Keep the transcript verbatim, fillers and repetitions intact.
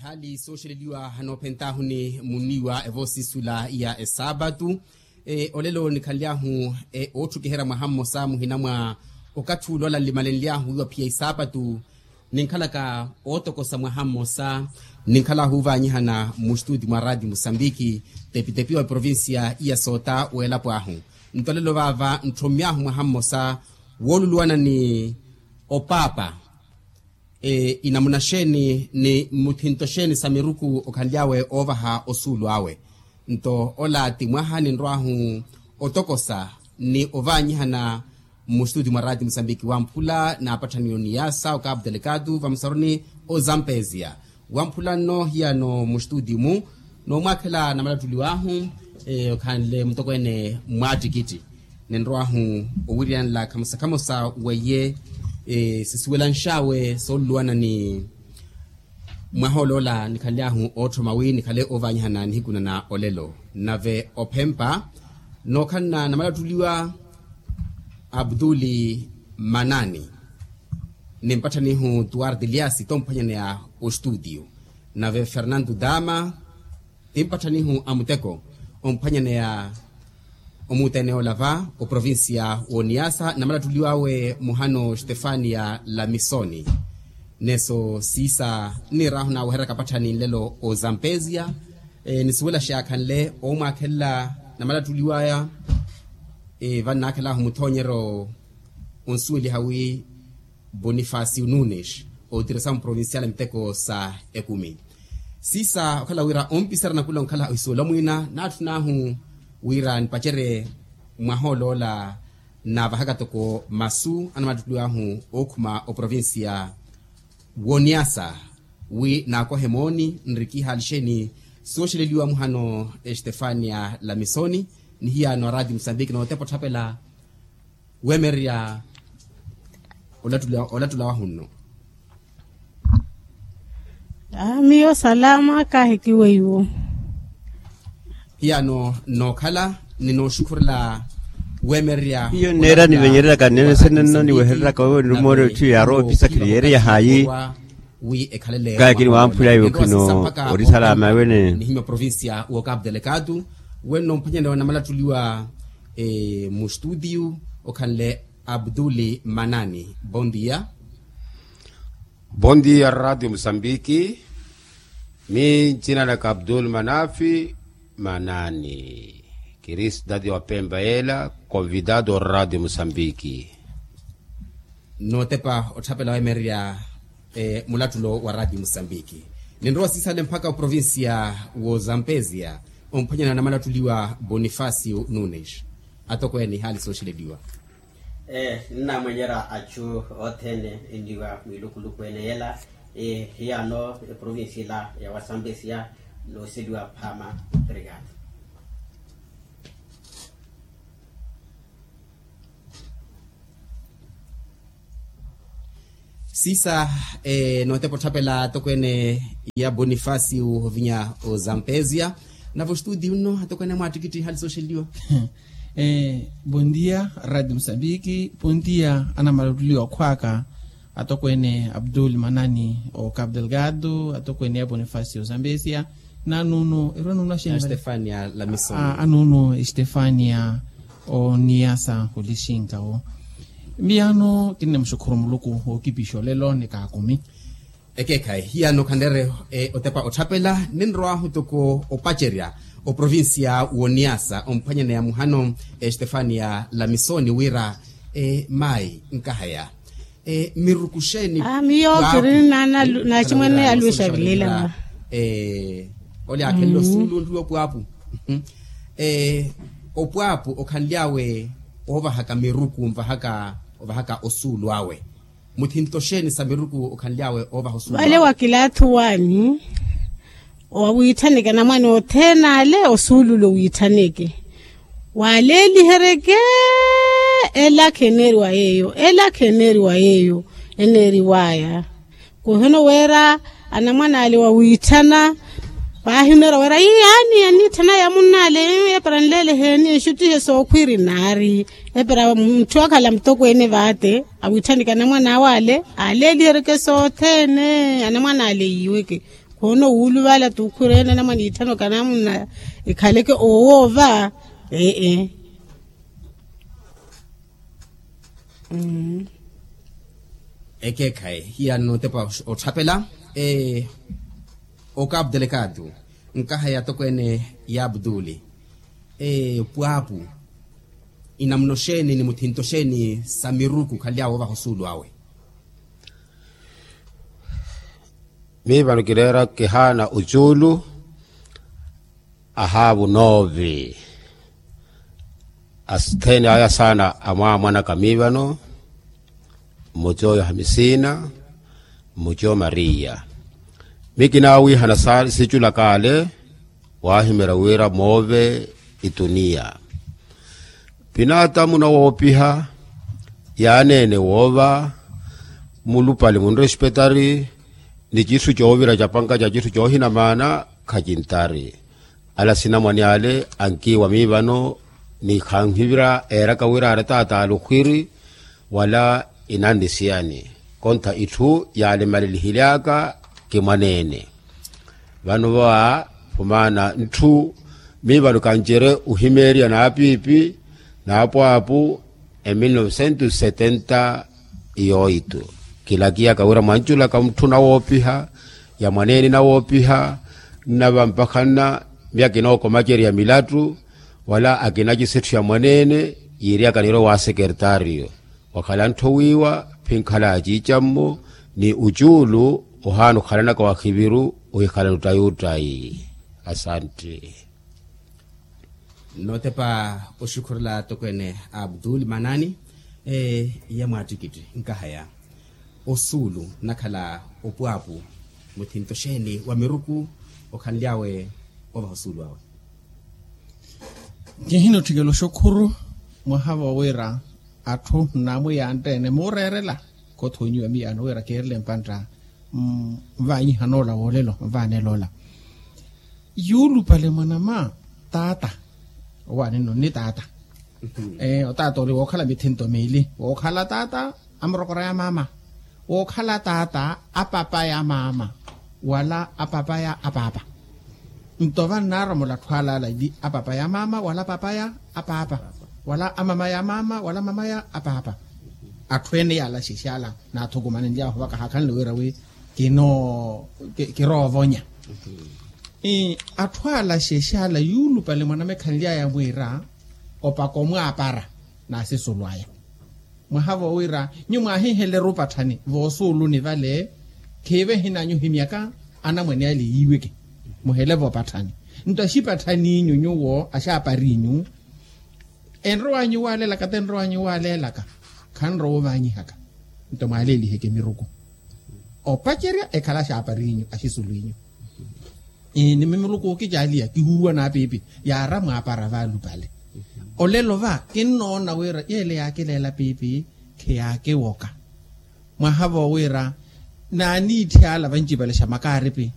Hali sooxeleliwa hanoophentaahu ni muniiwa evoosisula ya esaapatu. Olelo nikhanly'ahu ootthukiherya mwaha mmosa muhina mwa okathi ula ola nlimalenly'ahu wiiwa phiya isaapatu. Ninkhalaka ootokosa mwaha mmosa ninkhal'ahu ovaanyihana mustutio mwa raati musambiki, tepitepi wa provincia iya soota w'elapo ahu. Nto olelo vaava ntthommy'ahu mwaha mmosa wooluluwana ni opaapa. Inamuna xeeni ni mmuthinto xeeni sa miruku okhanly'awe oovaha osuulu awe? Nto ola ti mwaha ninrw'ahu otokosa ni ovaanyihana mmustuti mwa raati musambiki wamphula naapatthani oniyasa okapu telekatu vamusaruni ozampezia. Wamphula nno hiyano mmustuti mu noomwaakhela namalattuliw'ahu okhanle mutokweene mwaattikitti. Ninrow'ahu owiriyanela khamosa khamosa weiye sisuwelanx'awe sooluluwana ni mwaha oloola nikhanly'ahu ootthoma wi nikhale ovaanyihana nihiku na olelo. Nave ophempa nookhalana namalattuliwa abduli manani, nimpatthanihu tuwarti liasi tomphwanyaneya ostutio. Nave fernanto dama timpatthanihu a muteko omphwanyaneya omuuteneya ola va oprovincia w'oniyasa namalattuliw'awe muhano stefania lamisoni. Neso siisa nniir'ahu naawehererya kapatthani nlelo ozampezia. Nisuwela xaakhanle oomwaakhelela namalattuliw'aya. Vannaakhel'ahu muthoonyeryo onsuweliha wi bonifasio nunes otirisa muprovincial a miteko sa ekumi. Siisa okhala wira ompisera nakula onkhala ohisuwela mwiina naatthun'ahu wira nipacerye mwaha oloola nnaavahaka toko masu anamalattuliw'ahu ookhuma oprovincia w'oniyasa wi naakohe mooni nrikihaali xeeni sooxeleliwa muhano estefania lamisoni ni hiyano araati musambiki nootepa otthapela weemererya olattula wahunno. Miyo salama kaahiki weiwo. Hiyano nookhala ni nooxukhurela weemererya hiyo nneera nivenyereraka nneene senenno niwehereraka wewe nirumore otthu yaarwa opisakhiri yeereyahaayi. Kaakini wamphula iwe khino ori salama wene. Nihimya provincia w'okapu telekatu wenno mphwanyaneya namalattuliwa mustutio okhanle abduli manani bondia. Bondia radio musambiki. Mi ncina naka abdul manafi manani kiri sitati wa pemba yela konvidado radio musambiki. Nootepa otthapela weemererya mulattulo wa raati musambiki. Ninrowa siisale mpakha oprovincia w'ozampezia omphwanyana na malattuliwa bonifasio nunes. Atokweene ihaali sooxeleliwa. Ee nnaamwenyerya achu othene enniwa mwiilukuluku ene yela. Hiyano eprovincia ila ya wazampezia nooseliwa phaama. Obrigado. Siisa nootepa otthapela atokweene ya bonifasio ovinya ozampezia. Nave ostudio nno atokweene mwaattikitthi ihaali sooxeleliwa. Bondia radio musambiki. Bondia anamalattuliwa khwaaka atokweene abdul manani o capu delgado atokweene ya bonifasio ozampezia. Nanuno erwa nuno axeeni anuno estefania oniyasa olixinkawo. Miyano kinnemuxukhuru muluku wookipixa olelo ni kaakumi. Ekeekhayi hiyano khanleere otepa otthapela ninrowahu toko opacerya oprovincia w'oniyasa omphwanyaneya muhano estefania lamisoni wira mayi nkahaya. Miruku xeeni miyo kiri naaximwene aluwe xavilela. Ole aakhenle osuulu onriwa opwaapu. Opwaapu okhanly'awe oovahaka miruku nvahaka ovahaka osuulu awe. Muthinto xeeni sa miruku okhanly'awe oovaha osuulu awe? Vale wa kilaathu waani wawiitthaneke anamwane othene ale osuululo wiitthaneke. Waaleeliheryeke elakha eneeriwa yeeyo elakha eneeriwa yeeyo eneeriwaya. Kuhino wira anamwane ale wawiitthana paahi oneeriwa wira ii aani aniitthana ya munnaale epara nleeleheeni enxuttihe sookhwiri naari. Epara mutthu akhala mutokweene vaate awiitthaneke anamwane awe ale aaleeliheryeke sothene anamwane ale yiiweke. Khoona owuluvala tukhurene namwa niitthano kanamuna ikhaleke owoova. Ee. Ekeekhayi hiya notepa otthapela. Okapu delegado, nkaha ya tokweene ya abduli. Pwaapu, inamuna oxeeni ni muthinto oxeeni sa miruku khanly'awe ovaha osuulu awe? Miivano kireera kihaana ocuulu. Ahaavu noovi. Asittheene aya saana amwaamwanaka miivano. Mmocoyo hamisiina, mmocoyo mariya. Mikinaawiihana saana siculaka ale. Waahimerya wira moove ituniya. Pinaatamu nawoopiha yaaneene woova. Mulupale munrespetari ni citthu coovira capanka ca citthu coohina maana. Khacintari ala sinamwane ale ankiiwa miivano ni khanhivira eeraka wira ari ataata ale okhwiri wala inannisiyani. Kontha itthu yaalemalelihily'aka kimwaneene. Vano va phumaana ntthu miivano kancerye ohimeerya n'apiipi n'apwaapu. E mil novecentos setenta e oito kilakiyaka wira mwanculaka mutthu nawoopiha ya mwaneene nawoopiha nnava mpakha nna miyaka inookomacerya milattu wala akina cisetthu ya mwaneene yiiryaka nirwe wa sekertaariyo. Wakhala nttho wiiwa phinkhala ya ciicammo ni ucuulu ohaana okhalanaka wahiviru ohikhala nuttayi uttayi. Asantte. Nootepa oxukhurela tokweene abdul manani. Iya mwaattikitthi nkahaya osuulu nnakhala opwaapu muthinto xeeni wa miruku okhanly'awe ovaha osuulu awe? Kihina otthikela oxukhuru mwaha vowira atthu nnamwiyantte-ene muureerela kothoonyiwa miyaano wira keerele mpantta. Nvaanyiha noola woolelo nvaanela ola. Yuulupale mwanama taata. Owaani nno nni taata. Otaata oli wookhala mithinto miili wookhala taata a murokora ya maama wookhala taata a papa ya maama wala a papa ya a paapa. Nto vannaromola atthu alaala ili a papa ya maama wala papa ya a paapa wala a mama ya maama wala mama ya a paapa. Atthu ene yaala xexala naathukumanenly'ahu vaka haakhanle wira wi kinoo kiroovonya. Atthu ala xexala yuulupale mwanama ekhanly'aya mwiira opaka omwaapara naasisulu aya. Mwaha vowira nyuwo mwaahiiheleru opatthani voosuuluni vale khiive ehinanyu ohimyaka anamwane ale yiiweke muhele vopatthani. Nto axipatthaniinyu nyuwo axaaparinyu enrowanyu waalelaka tenrowanyu waalelaka khanrowa ovaanyihaka. Nto mwaaleliheke miruku opacerya ekhala axaaparinyu axisulu inyu. Ni mimiruku okicaaliya kihuruwa n'apiipi yaara mwaapara vaalupale. Olelo va kinnoona wira yeele yaakileela piipi kheyaakiwoka. Mwaha vowira naaniitthyala vancipale xa makaaripi